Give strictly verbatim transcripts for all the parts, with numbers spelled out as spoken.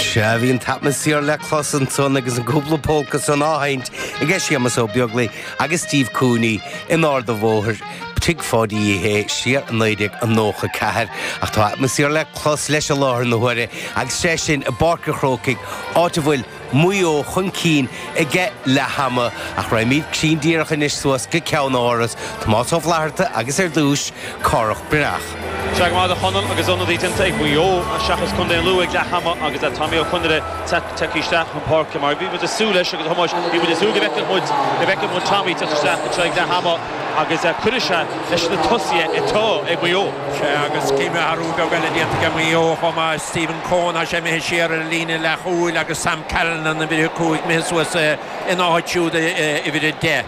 Sea bhí an t-atmaisféar le clos ansan agus an cúpla polca san á sheinnt ag Séamus Ó Beaglaoich agus Steve Cooney in Ard an Bhóthair Tigh Pháidí Uí Shé siar naoi déag nócha ceathair ach tá atmaisféar le clos leis i láthair na huaire agus sé sin i bPáirc an Chrócaigh áit a bhfuil Maigh Eo chun cinn ag leath ama ach raghaimid cruinn díreach anois suas go Ceann Áras Tomás Ó Flatharta agus ar dtús Cárthach Breathnach. Sea go maith a Chonaill agus ionadaí déanta ag Maigh Eo seachas Contae an Lú ag leath ama agus Tommy Ó Conaire tagtha isteach chun páirce mar bhí muid ag súil leis agus Thomáis bhí muid ag súil go bhfeicfeadh muid go bhfeicfeadh muid Tommy teacht isteach anseo ag leath ama agus cuirfidh sé leis na tosaithe atá ag Maigh Eo. Sea agus cím athrú beag eile déanta ag Maigh Eo chomh maith Stephen Coen tá sé imithe siar ar an líne leathchúil agus Sam Callinan uimhir a cúig imithe suas ina áit siúd uimhir a deich.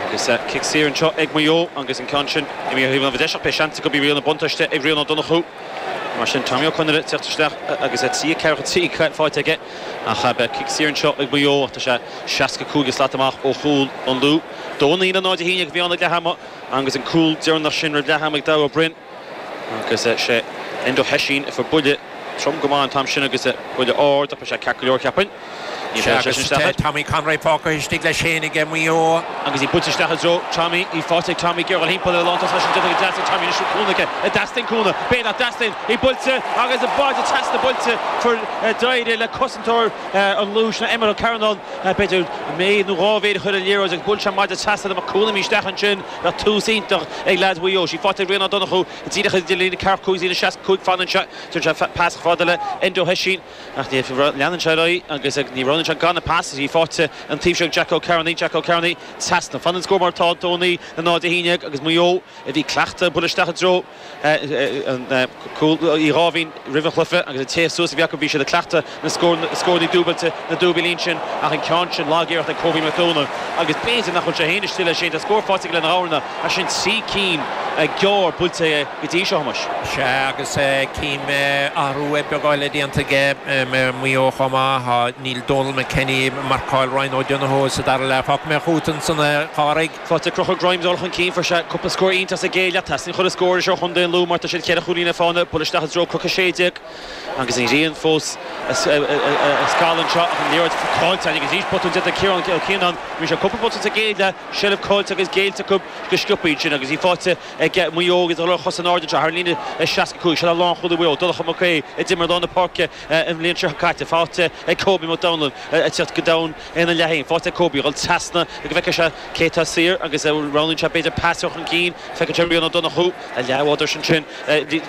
Agus cic saor anseo ag Maigh Eo agus an ceann sin imithe ar thaobh an deis ach beidh seans go bhí riail na buntáiste ag Rian Ó Donnchú. Mar sin Tommy Ó Conaire teacht isteach agus trí ceathracha trí faighte aige ach beidh cic saor anseo ag Maigh Eo tá sé seasca cúig slat amach ó chúl an Lú. Dó naoi le náid a haon déag a bhí ann ag leath ama agus an cúl deireanach sin roimh leath ama ag Dara Ó Broin agus sé Enda Hessin a fuair buille trom go maith an t-am sin agus buille ard ach beidh sé ceart go leor cheapfainn. Tommy Conroy fágtha istigh leis féin ag Maigh Eo. Agus í buailte isteach i dtreo Tommy í faighte ag Tommy ag dul thimpeall ar lántosaí leis an déanta go deas ag Tommy anois cúnamh aige an dteastaíonn cúnamh b'fhéidir nach dteastaíonn í buailte agus an báide trasna buailte fuair d'éirigh le cosantóir an Lú sin Emmet Ó Cearnáin b'fhéidir méid nó dhá mhéid a chur ar an liathróid agus buail sé maide trasna le cúnamh isteach ansin le tús iontach ag leaid Mhaigh Eo. Sí faighte ag Rian Ó Donnchú díreach idir líne ceathracha cúig líne seasca cúig fan anseo Tugann sé pas fada le Enda Hessin ach ní leanann sé ar aghaidh agus ní roghnaíonn sé gan an pas í faighte an taobh seo ag Jack Ó Cearnaigh Jack Ó Cearnaigh trasna fan an scór mar atá dó naoi le náid a haon déag agus Maigh Eo a bhí cleachta bualadh isteach i dtreo an cúl Uí Dháimhín roimh an chluiche agus an téamh suas a bhí acu bhí siad ag cleachtadh na scóranna dúbailte na dúbailín sin ach an ceann sin lag-iarracht ag Kobe McDonald agus b'fhéidir nach bhfuil sé féin istigh leis sin tá scór faighte aige lena Ghamhna ach sin trí cinn gearr buailte aige go dtí seo Thomáis. Sea agus cím athrú beag eile déanta aige Maigh Eo chomh maith níl Donal McKenny marcáil Ryan O'Donoghue sa dara leath fágfaidh mé chugat ansan a Chárthaigh. Faighte ag Conchúr Grimes dul chun cinn fuair sé cúpla scór iontach sa gcéad leath teastaíonn chuile scór seo Chontae an Lú mar tá siad ceithre chúilín ag fána bualadh isteach i dtreo Croc a sé déag agus an ghrian fós ag scalladh anseo ach an liathróid caillte agus arís botún déanta Ciarán Ó Cianáin bhí sé cúpla botún sa gcéad leath seilbh caillte agus géillte acu go sciobtha sin agus í faighte ag Maigh Eo agus dul ar chos in airde anseo thar an líne seasca cúig seo lánchúlaí Mhaigh Eo Donncha Mac Aodha a d'imir lár na páirce an bhliain seo caite faighte ag Kobe McDonald ag teacht go domhan ina leath féin faighte ag Kobe dhul trasna go bhfeicfidh sé cé tá saor agus roghnaíonn sé b'fhéidir pas chun cinn feiceann sé Rian Ó Donnchú a leathbhádóir sin sin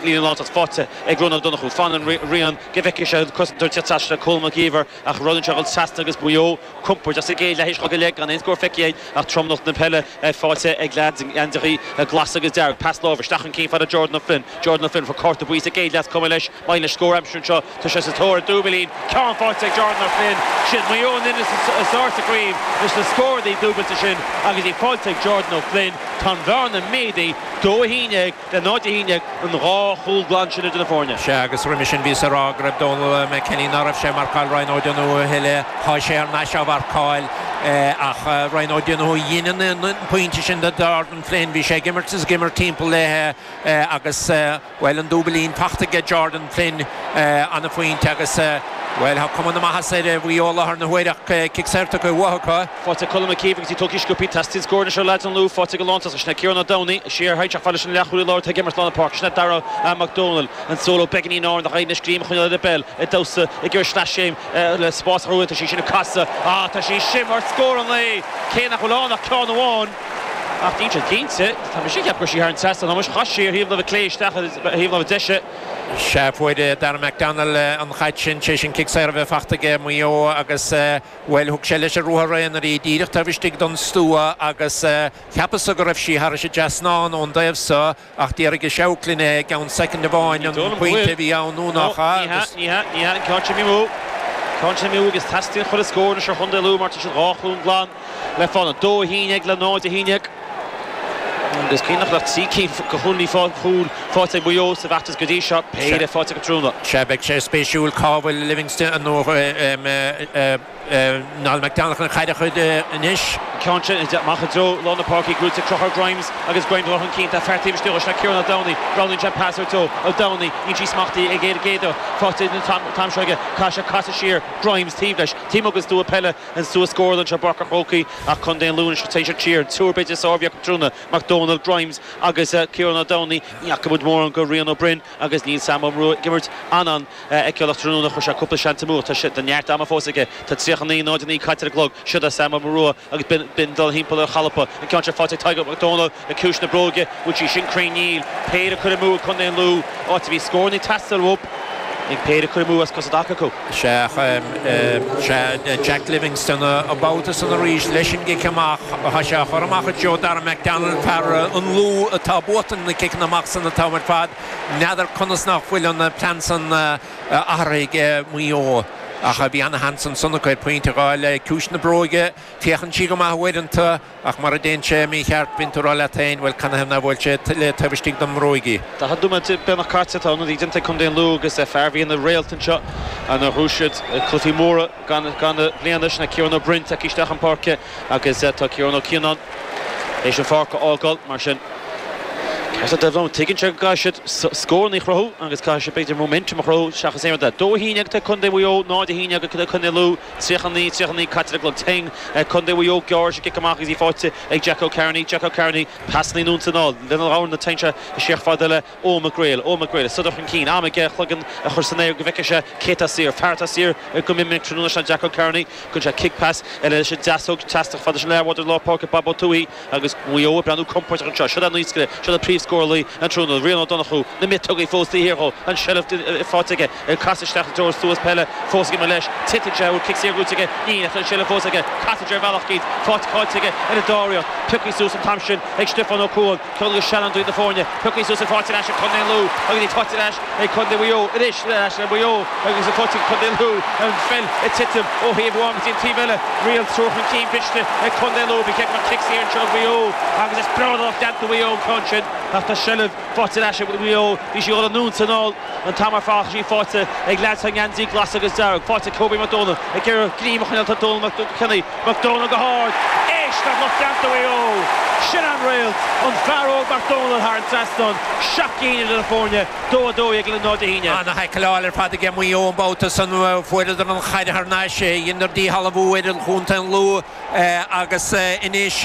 líne lántach faighte ag Rian Ó Donnchú fanann Rian go bhfeicfidh sé cosantóir teacht trasna Colm Mac Íomhair ach roghnaíonn sé dhul trasna agus Maigh Eo compordach sa gcéad leath go leith gan aon scór feicthe ach tromlach na peile faighte ag leaids geansaithe glas agus dearg pas láimhe isteach chun cinn fada Jordan O'Flynn Jordan O'Flynn fuair cárta buí sa gcéad leath cuma leis maith leis scór aimsir anseo tá sé sa tóir dúbailín ceann faighte ag Jordan O'Flynn sin Maigh Eo in is sa gcraobh leis na scóranna dúbailte sin agus í faighte ag Jordan O'Flynn tá an bhearna méadaithe dó a haon déag le náid a haon déag an dhá chúl glan sin idir na foirne. Sea agus roimhe sin bhí rá go raibh Donal McKenny ná raibh sé marcáil Ryan O'Donoghue thuile tá sé ar ais á mharcáil ach Ryan O'Donoghue dhein an pointe sin do Jordan Flynn bhí sé ag imirt is ag imirt timpeall léithe agus bhuel an dúbailín faighte ag Jordan Flynn an-phointe agus Well tá cuma na maitheasa ar Mhaigh Eo láthair na huaire cic saor tugtha uathu. Faighte Colm McKeever agus í tógtha sciobtha teastaíonn scór seo leaids an Lú faighte go lántosach sin Ciarán Ó Domhnaill siar thaid fáil sin leathchúlaí láir ag imirt lár na páirce sin Dara McDonald an solo beagáinín in airde na scríam chun le peil ag damhsa ag iarraidh sleaschéim le spás rua tá sí sin ag casadh á tá sí sin mar scór an lae cé nach bhfuil ann ach ceann amháin ach níl sé cinnte tá mise ag ceapadh go raibh sí thar an trasnán Thomáis chas sí ar thaobh láimhe clé isteach ar thaobh láimhe deise. Sea fuair Dara McDonald an chaid sin sé sin cic saor a bheith faighte aige Maigh Eo agus bhuel thug sé leis an ruathar aonair í díreach taobh istigh don stua agus cheapas go raibh sí thar an trasnán ón dtaobh seo ach d'éirigh seabhac linn i gceann soicind amháin an pointe a bhí ann nó nach ea agus. Ní hea, ní hea, an ceann sin amú. Ceann sin amú agus teastaíonn chuile scór anois ar Chontae Lú mar tá siad dhá chúl glan le fána dó a haon déag le náid a haon déag. Agus cuimhnigh nach trí cinn de chúilíní chúl faighte ag Maigh Eo sa bhfeachtas go dtí seo péire faighte acu tráthnóna. Sea beidh sé spéisiúil cá bhfuil Livingston nó Niall McDonald chun caid a chur anois. Ceann sin amach i dtreo lár na páirce gnóthaithe ag Conchúr Grimes agus Grimes chun cinn tá fear taobh istigh le Ciarán Ó Domhnaill roghnaíonn sé pas ar Ó Domhnaill níl sí smachtaithe ag ar géada faighte an t-am seo aige caithfidh sé casadh siar Grimes taobh leis Tí agus dua peile an sua scór anseo Páirc an Chrócaigh ach Contae an Lú téis siar túr beidir sábhheach trúna McDonald Grimes agus Ciarán Ó Domhnaill ní fhaca muid mórán go Rian Ó Broin agus níl Sam Ó Murchú ag imirt an an-fheiceálach tráthnóna chuir sé cúpla seans amú tá sé de neart ama fós aige tá tríocha naoi náid naoi caite ar an gclog seo Sam Ó Murchú agus bin dul timpeall ar chalpa an ceann seo faighte Tadhg McDonald ag ciumhais na bróige bhfuil sí sin cruinn níl péire curtha amú Contae an Lú áit a bhí scór ag teastáil uathu ag péire curtha amú as cosa acu. Se se Jack Livingston a babhta san arís leis an gcic amach a sé chur amach Joe Darren McDonald fear an Lú atá buachan na ciceanna amach san atá ar fad n'fheadar conas nach bhfuil an plean san athraithe Maigh Eo. ach a bhí an-seans ansan chuir pointe le ciumhais na bróige féachann sí go maith uaireanta ach mar a déan sé mícheart binúrá le tain bhfuil canna na bhfuil sé le taobh don mbróige. Tá dúma bena caite na dí Contae an Lú agus fear bhí na réaltan seo an rúisiad cluichí móra gan gan bliana na Ciarán Ó Broin isteach an páirce agus tá Ciarán Ó Cianáin éis an pháirc a fhágáil mar sin. Tuigeann sé go siad scór ní chruthú agus caithfidh sé b'fhéidir momentum a chruthú seachas aon de. Dó haon ag Contae Mhaigh Eo náid a haon ag Contae Lú tríocha naoi tríocha naoi caite le ting Contae Mhaigh Eo gearr cic amach agus í faighte ag Jack O'Carney Jack O'Carney pas ní núntaná lena gáin na teinte siach fada le ó McGrail ó McGrail sudar an cín am aige chloigeann a chur san aer go bhfeice sé céta siar fearta siar go mí trúna sem Jack O'Carney chun sé kick pass eile sé deasóg teastach fada sin leirhd lá páce Babo Tuí agus Maigh Eo breathnú compordach anseo seo níosce seo príomhscórálaí an tráthnóna Rian Ó Donnchú na miotógaí fós híró an seilbh faighte cas isteach dúir suas peile fós mar leis titeann sé cic saor aige ní an seilbh fós aige caite ar bhealach cíd fáte cáige ar a dáíocht pioctha suas an t-am sin ag Stefan Ó Cuan ceol go sean na fóne pioctha suas an faighte ag Contae Lú agus í faighte ag Contae Mhaigh Eo arís leis an Mhaigh Eo agus a faighte Contae Lú an pheil ag titim ó thaobh amháin go dtí an taobh eile riail trú an cinn briste ag Contae Lú bhí mar cic saor anseo Mhaigh Eo agus is bradach deanta Mhaigh Eo ceann sin ach tá seilbh faighte leis Mhaigh Eo bhí sí ó nún sanál an t-am ar fad sí faighte ag le an geansaí glas agus dearg faighte Kobe McDonald ag gur grímach tá Donald McKinney McDonald go hard éist nach deanta Mhaigh Eo sin an réalt an fear óg McDonald thar an trasnán seacht gcinn idir na foirne dó a dó ag le náid a haon. Ana thaicleáil ar fad ag Maigh Eo an babhta san fuaireadar an chaid thar n-ais dheineadar díshealbhú ar an chontae an Lú agus anois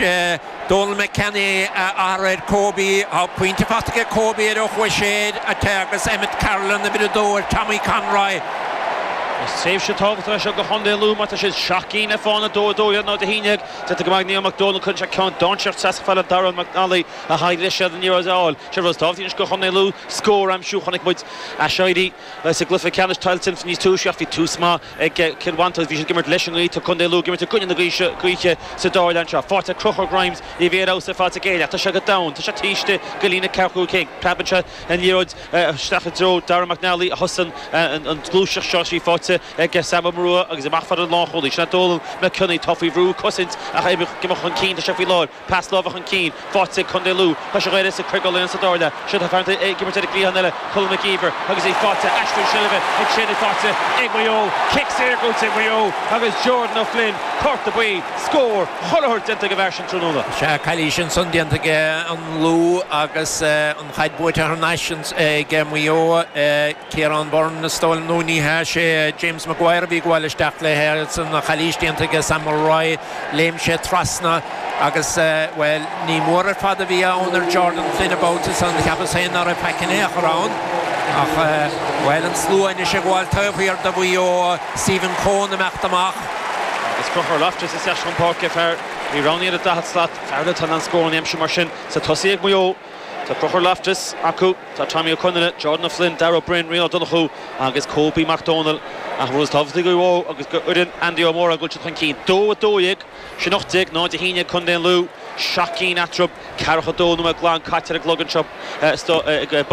Donald McKenny ar ar Kobe á pointe faighte ag Kobe ar ó chuaigh sé agus Emmett Carolan na bhí dó ar Tommy Conroy. Is tréimhse tábhachtach seo go Chontae Lú mar tá siad seacht gcinn le fána dó dó ná a haon Tá go Neil McDonald chun sé ceann dainséarach trasna fada Darren McNally a haid leis sé an ní áil. sé ros tábhachtach go Chontae Lú scór aimsiú chonaic muid aiséirí sa gcluiche ceannais Tailteann níos túisce ach bhí tús maith ag Cill Mhantáin bhí siad ag imirt leis an ngaoth tá Contae Lú ag imirt i gcoinne na gaoithe sa dara leath anseo. Faighte Conchúr Grimes ní bhí sa fáte géile Tá sé go down Tá sé tíiste go lína ceú cé Preabann sé an liathróid isteach i dtreo Darren McNally a thosaíonn an gluaiseacht seo sí faighte ag Sam Rua agus amach fad an lánchúlaí. Sin Donald McCunny tá faoi bhrú cosaint ach gimach chun cinn tá sé faoi lár pas láimhe chun cinn faighte Contae Lú Tá sé réir sa cruigol sa dóile se tá fearnta ag imirt ar an eile Colm McKeever agus é faighte aistriú seilbhe ag sin faighte ag Maigh Eo cic saor go Maigh Eo agus Jordan O'Flynn cárta buí scór chothir déanta go bhar sin tráthnóna. Se cailí sin san déanta an Lú agus an chaid buaite thar n-ais ag Maigh Eo Ciarán Byrne na stáil nó ní he sé James Maguire bhí ag gabháil isteach le san chailís déanta ag Sam Roy léim sé trasna agus well ní mór ar fad a bhí ann ar Jordan Flynn about an cheapas féin ná pecin éach ann ach well an slua sé ghil taobhhir a bhí ó Stephen Cohn amach amach. Is Conchúr Loftus is an páirce fear bhí roghnaithe a daichead slat fear tá an scór aimsithe mar sin sa tosaí ag Maigh Eo Tá Conchúr Loftus acu tá Tommy O'Connell, Jordan O'Flynn, Darragh Bryn, Rian Ó Donnchú agus Kobe McDonald ach rud tábhachtach go agus go uireann Andy O'Mora go chun cinn dó a dó dhéag sin ocht déag náid a haon Contae Lú seacht gcinn eatarthu ceathracha dó nóiméad glan caite ar an gclog anseo